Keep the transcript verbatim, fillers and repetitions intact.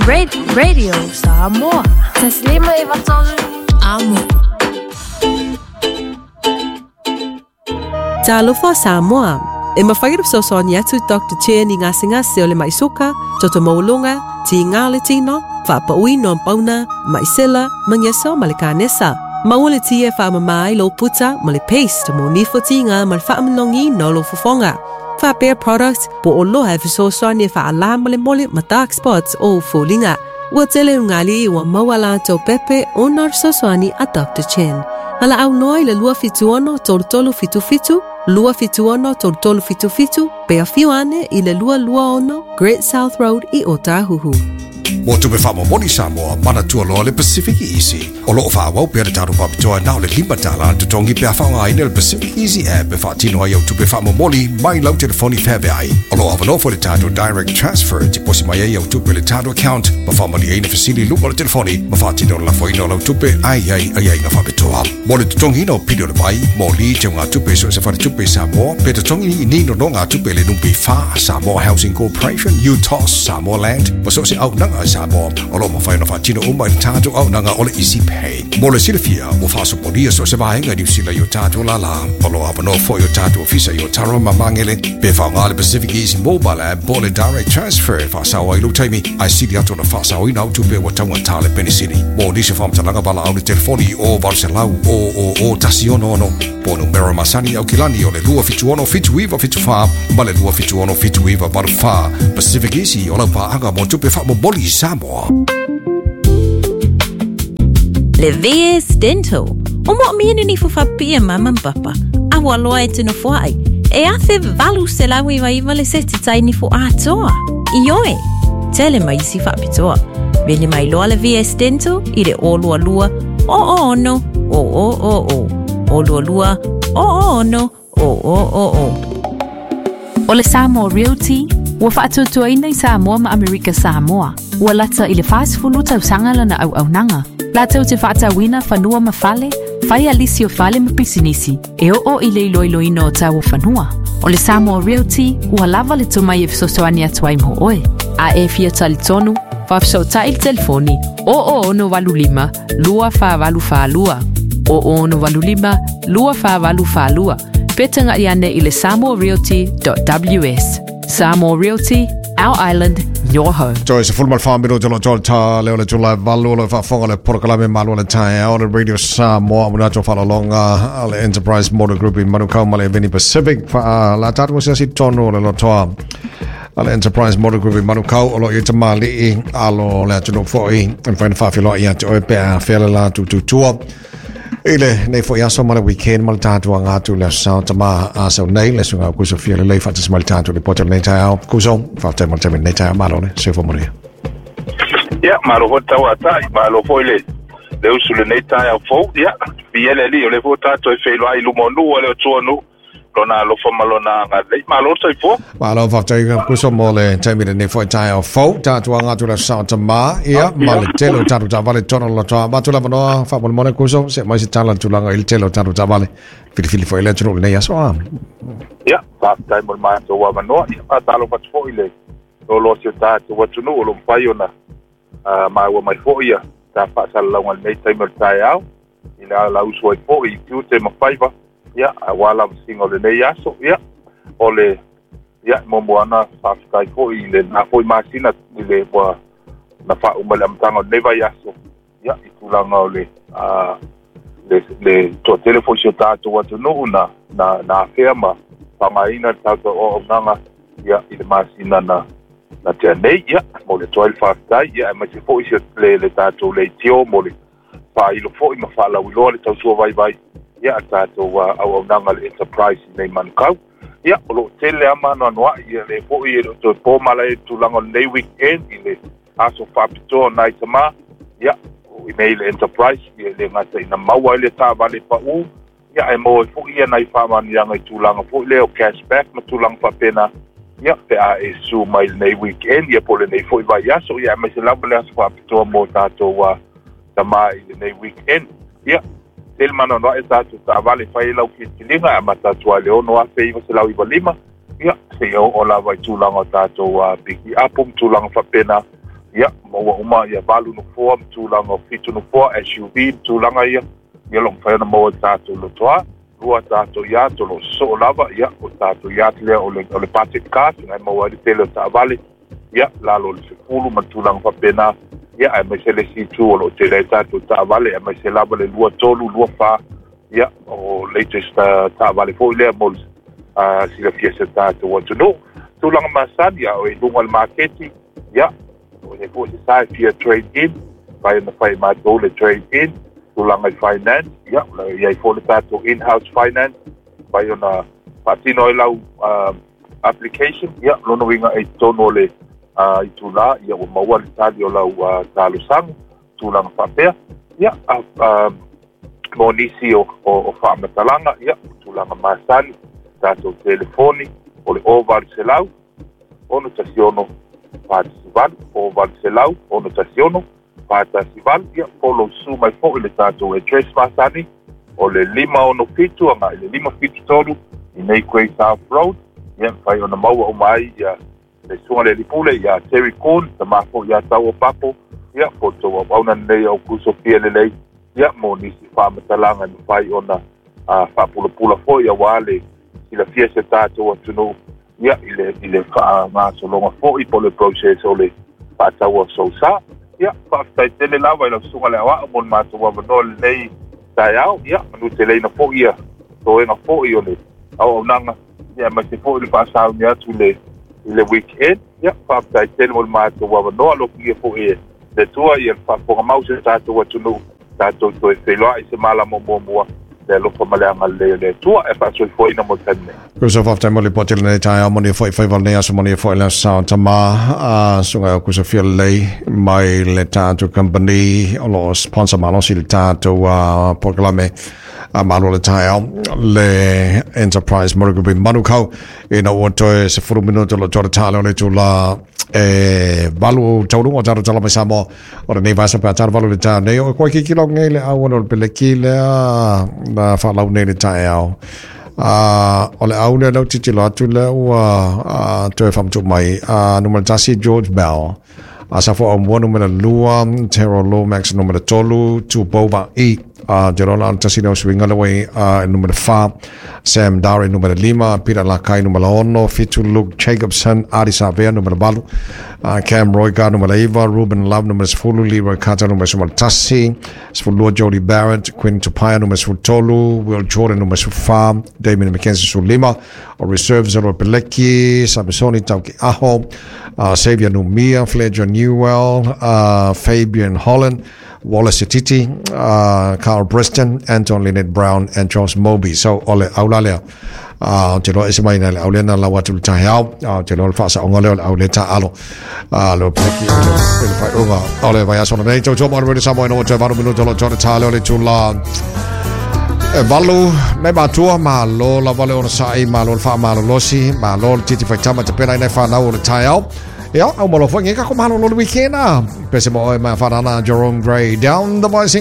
Radio Samoa. Taslima e vatolu. Amo. Talofa Samoa. E mawhai rap sosoani atu Doctor Chen i ngā singase o le maisoka, toto maulunga, ti ngā le tino, whaapaui no pauna, maisela, mangeso ma le kanesa. Maua le tia whaamamai lo puta ma le paste mo nifo tinga ma le whaamanongi no lo fofonga. Whaapea product po o loha e fesoasoani e whaala ma le mole ma dark spots o fōlinga. Ua tele ungali ua maua la tau pepe o nor sosoani a Doctor Chen. Ala au noa i le lua fituono tolu tolu fitu fitu, lua fituono tolu tolu fitu fitu, pea fiuane i le lua lua ono Great South Road i Otahuhu. Mo tupe whaamomoni Samoa, mana tualoa le Pacific Easy. O loo whaawau pea le tātou whapitoa nao le lima tāla tutongi pea whaongaina le Pacific Easy app e whaatino ai au tupe whaamomoli mai lau telefoni whaveai. O loo awanofo le tātou direct transfer ti posi mai ai au tupe le tātou account ma whaamali ai na fasili luma le telefoni ma whaatino la whaina lau tupe ai ai ai ai ngā whapitoa. Mo le tutongi no pili o le vai, mo li te ngā tupe so se whare tupe Samoa, pe tutongi i nino no ngā tupe le numpi wha Samoa Housing Corporation, U T O S, Samoa Land, ma so se au nanga Samoa, o lo mawhai na whaatino uma i tātou au nanga o le Easy Pay. Mo le silafia, o whaasoponia so se vaenga ni usila i o tātou lala, o lo awanoa fo i o tātou ofisa i o taro mamangele, pe whaonga le Pacific Easy Mobile App po le Direct Transfer whaasawa i lo taimi, ai sili atu na whaasawa i nau tupe wa taunga tāle penisini. Mo nisi whamtalanga bala au le telefoni o varuselau o o o tasi ono ono, po numero masani au kilani o le lua fitu ono fitu iwa fitu wha, ma le lua fitu ono fitu iwa varu wha. Pacific Easy o lau pāanga mo tupe whaamomoli Samoa. Le V S Dental. O mo mienu ni fufapia mama papa. Awa loa e tino fuai. E afe valu se lawi wa iwa le seti tai ni fu atoa. Ioe. Tele mai si whapitoa. Vele mai loa le V S Dental i le o lua lua o o ono o o o o. O lua lua o o ono o o o o. O le Samoa Realty, ua whaatutuaina i Samoa ma Amerika Samoa. Ua lata i le whaasifulu tausanga lana au aunanga. Lātou te whaatawina whanua ma fale, whai alisi o fale ma pisinisi, e o o i le iloiloina o tau o whanua. O le Samoa Realty, ua lava le tumai e fesoasoani atu ai mo oe. A e fia talitonu, whaafesootai le telefoni, o o ono walu lima, lua wha walu wha lua. O o ono walu lima, lua wha walu wha lua. Petanga iane i le samoa realty dot w s. Samoa Realty, our island, your home. Joyce, full mal farm biro tolo tolo ta leo le tula valu le faafoga le porokalame malo le taeao le Radio Samoa muna to whalalonga le Enterprise Motor Group i Manukau ma le Veni Pacific fa la tatu se si tono le lotoa le Enterprise Motor Group i Manukau o lo i te mali'i alo le atunu foi e whaina whawhiloa i atu oe pea whela la tututua I le nei foi aso ma le weekend ma le tātou anga atu le sao tama a sau nei le sunga kuso fia le lei whatas ma le tātou le poto nei taeao kuso whaatai ma le taimi nei taeao malo le se fo moria. Ia, malo fo tau atai, malo foi le le usu le nei taeao fou, ia, fiele li o le fo tātou e wheiloa i lumonu o le o tuanu lona alofa ma lona agalelei. Malo le soifua. Malo faafetai kuso mo le taimi lenei foi taeao fou tātou anga atu le sao tama ia ma le tele o tātou taavale tono lotoa matu lava noa faamolemole kuso se mai se tala tulaga i le tele o tātou taavale filifili foi le atunuu lenei aso a. Ia, faafetai mo le matou avanoa, ia faatalofa atu foi le loloa si o tatou atunuu o lo mafai ona maua mai foi ia ta faasalalauga lenei taimi o le taeao i le alausu ai foi i tiute ma faiva. Ia, aua lava singa o lenei aso, ia, o le, ia, momoana faafetai foi i le na foi masina i le ua na faauma le amataga o lenei vai aso, ia, i tulaga o le, a, le, le toatele foi si o tatou atunuu na, na, na afea ma faaaogaina le tatou auaunaga, ia, i le masina na, na tea nei, ia, mo le toa i le faafetai, ia, aemaise foi si le, le tatou leitio mo le faailo foi ma faalauiloa le tautua vaivai. Ia, tātou auaunaga le Enterprise nei Manukau. Ia, o loo tele ama anoanoai, ia le foi e loo toe pō mala e tulaga o lenei weekend i le aso faapitoa nai tamā. Ia, i nei le Enterprise, ia le gata ina maua ai le taavale paʻu. Ia, e maua ai foi ia nai faamaniaga i tulaga foi lea o cashback ma tulaga faapena. Ia, pe a e su mai lenei weekend, ia po lenei foi vaiaso, ia aemaise lava le aso faapitoa mo tatou tamā i lenei weekend. Ia, tele mana e tātou taavale fai lau kilitiliga a matatu ai le ono afe iva selau iva lima, ia, seia oo lava i tulaga o tatou piki apo ma tulaga faapena. Ia maua uma ia valu nofoa ma tulaga o fitu nofoa S U V ma tulaga ia ia lo mafai ona maua i tatou lotoa. Lua tatou yacht o lo sosoo lava ia o tatou yacht lea o le o le budget car na maua ai le tele o taavale ia lalo o le sefulu ma tulaga faapena ia aemaise le isi itu o loo tele ai tatou taavale aemaise lava le lua tolu lua fa ia o latest taavale foi lea mo le silafia se tatou atunuu. Tulaga masani a o i luga o le maketi ia o le foi se sa e fia trade in fai ona fai matou le trade in tulaga i finance ia o le iai foi le tatou in-house finance fai ona faatino ai lau uh, application ia lona uiga e i totonu o le uh, itulā ia ua maua le tali o lau uh, talosaga tulaga faapea ia uh, uh, mo nisi o, o, o faamatalaga ia tulaga masani tatou telefoni o le o valu selau ono tasi ono fa tasi valu o valu selau ono tasi ono fa tasi valu ia follow su mai foi le tatou address masani o le lima ono fitu agai le lima fitu tolu i nei Quay South Road ia mafai ona maua uma ai ia le susuga le alii pule ia Terry Kuhn tamā foi ia tau o Papo ia po o le tou auauna lenei o kusofia lelei ia mo nisi faamatalaga e mafai ona uh, faapulapula foi auā le silafia se tatou atunuu ia i le i le faagasologa foi po o le process o le faataua o sousā. Ia faafetai tele lava i lau susuga le aoao mo le matou avanoa lenei taeao ia manuteleina foi ia toega foi o le auaunaga ia aemaise foi le faasauni atu i le i le weekend ia faafetai tele mo le matou avanoa alofagia foi e le Atua ia le faafofoga mau se tatou atunuu tatou toe feiloai se malama muamua le alofa ma le agalelei o le Atua e faasoifuaina mo le taimi nei. Kusa faafetai mo le lipoti lenei taeao manuia foi faiva lenei aso manuia foi le aso sa tamā a susuga o kusofia lelei mai le tatou company o loo sponsor malosi le tatou uh, polokalame a malo le taeao le Enterprise Motor Group i Manukau ina ua toe sefulu minuto lo toe tale o le itulā e valu taunuuga o tatou tala mai Samoa o lenei vasa pe a talo valu le taeao nei o koe kikilo nei le auala o le peleki lea na faalau nei le taeao Uh, o le au lea lau titilo atu lea ua uh, toe faamatuu mai uh, numera tasi George Bell Asafo Aumua numera lua Terrell Lomax numera tolu Tupou I uh, Jerona o le tasi lea o suiga lea ua i uh, numera fa Sam Dare numera lima Peter Lakai numera ono fitu Luke Jacobson Ardie Savea numera valu uh, Cam Roigard numera iva Ruben Love numera sefulu Leroy Carter numera sefulu tasi sefulu lua Jody Barrett Quinn Tupaea numera sefulu tolu Will Jordan numera sefulu fa Damien McKenzie sefulu lima o reserves o Peleki Samisoni Tauki'aho uh, Xavier Numia Fletcher Newell uh, Fabian Holland Wallace Sititi, uh, Carl Briston, Anton Lienert-Brown and Josh Moby. So o le aula lea. Uh, te loa ese mai na le aulea na lau atu le taeao. Uh, te loa le faasaoga lea o le aulea taalo. Uh, le peleki i le, i le faaiuga o le vaiaso lenei. Tautua mo le Radio Samoa ina ua toe valu minuto lo toe tā lea o le itulā e valu nei matua malo lava le onosai malo le faamalolosi malo le titi faitama tapena i nai whanau o le taeao. Ia, au malo foi nge kako malo lo le weekend a. Pese mo oe mai whanana Jerome Gray down the voicing